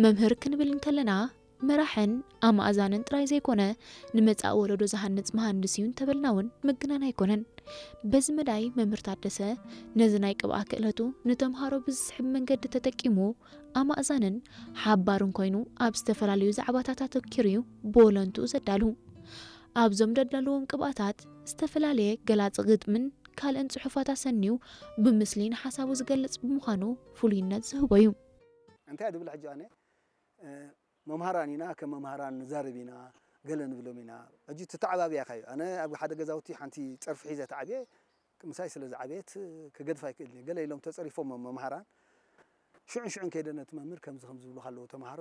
መምህር ክንብል እንከለና መራሕን ኣማእዛንን ጥራይ ዘይኮነ፣ ንመጻኢ ወለዶ ዝሃንጽ መሃንድስ እዩ እንተበልና እውን ምግናን ኣይኮነን። በዚ መዳይ መምህር ታደሰ ነዚ ናይ ቅብኣ ክእለቱ ንተምሃሮ ብዝስሕብ መንገዲ ተጠቂሙ ኣማእዛንን ሓባርን ኮይኑ ኣብ ዝተፈላለዩ ዛዕባታት ኣተኪሩ እዩ ብወለንትኡ ዘዳሉ። ኣብዞም ደዳለዎም ቅብኣታት ዝተፈላለየ ገላፂ ግጥምን ካልእን ጽሑፋት ኣሰንዩ ብምስሊ ንሓሳቡ ዝገልጽ ብምዃኑ ፍሉይነት ዝህቦ እዩ። እንታይ ድብል ሕጂ ኣነ መምሃራን ኢና፣ ከም መምሃራን ንዛረብ ኢና፣ ገለ ንብሎም ኢና። ሕጂ ትተዓባብያ ኢኻ እዩ። ኣነ ኣብ ሓደ ገዛውቲ ሓንቲ ጸርፊ ሒዘ ተዓብየ፣ ምሳይ ስለ ዝዓበየት ክገድፋ ኣይክእልን እየ። ገለ ኢሎም ተጸሪፎም መምሃራን ሽዑን ሽዑን ከይደ ነቲ መምህር ከምዚ ከም ዝብሉኻ ኣለዉ ተምሃሮ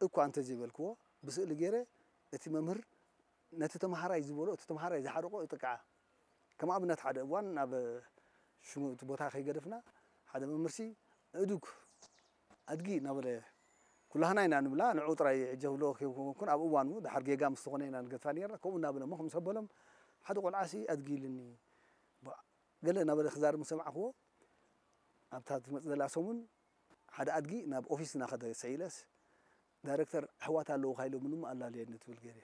እኳ እንተዘይበልክዎ ብስእሊ ገይረ እቲ መምህር ነቲ ተምሃራይ ዝበሎ እቲ ተምሃራይ ዝሓረቆ እጥቅዓ። ከም ኣብነት ሓደ እዋን ናብ ሽሙ እቲ ቦታ ከይገደፍና ሓደ መምህርሲ እዱግ ኣድጊ እናበለ ኩላህና ኢና ንብላ ንዑ ጥራይ ሕጂ ክብሎ ከይኮንኩን ኣብ እዋኑ ድሓር ጌጋ ምስ ዝኾነ ኢና ንገድፋ ነርና ከምኡ እናበለ እሞ ምስ ኣበሎም ሓደ ቆልዓሲ ኣድጊ ኢልኒ ገለ እናበለ ክዛርብ ምስ ሰማዕክዎ ኣብታ ትመፅእ ዘላ ሰሙን ሓደ ኣድጊ ናብ ኦፊስ እናኸደ ስዒለስ ዳይረክተር ኣሕዋት ኣለውኻ ኢሎምኒ እሞ ኣላልየኒ ትብል ገይረ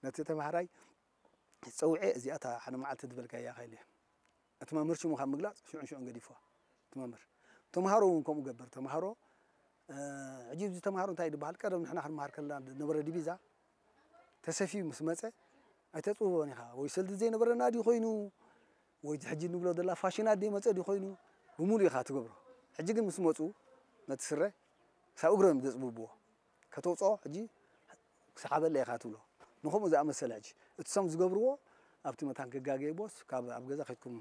ነቲ ተምሃራይ ፀውዐ እዚኣ እታ ሓደ መዓልቲ ዝበልካያ ኢኻ ኢለ እቲ መምህር ሽሙ ካብ ምግላፅ ሽዑን ሽዑን ገዲፍዋ እቲ መምህር ተምሃሮ እውን ከምኡ ገበር ተምሃሮ ሕጂ እዚ ተምሃሮ እንታይ ዝበሃል ቀደም ንሕና ክንመሃር ከለና ነበረ ዲቪዛ ተሰፊዩ ምስ መፀ ኣይተፅብቦን ኢኻ ወይ ሰልዲ ዘይነበረና ድዩ ኮይኑ ወይ ሕጂ ንብሎ ዘላ ፋሽናት ድዩ መፀ ድዩ ኮይኑ ብምሉእ ኢኻ ትገብሮ ሕጂ ግን ምስ መፁ ነቲ ስረ ክሳብ እግሮም ዘፅብብዎ ከተውፅኦ ሕጂ ክሰሓበለ ኢኻ ትብሎ ንከምኡ ዝኣመሰለ ሕጂ እቲ ሰም ዝገብርዎ ኣብቲ መታን ክጋገይቦስ ካብ ኣብ ገዛ ከድኩም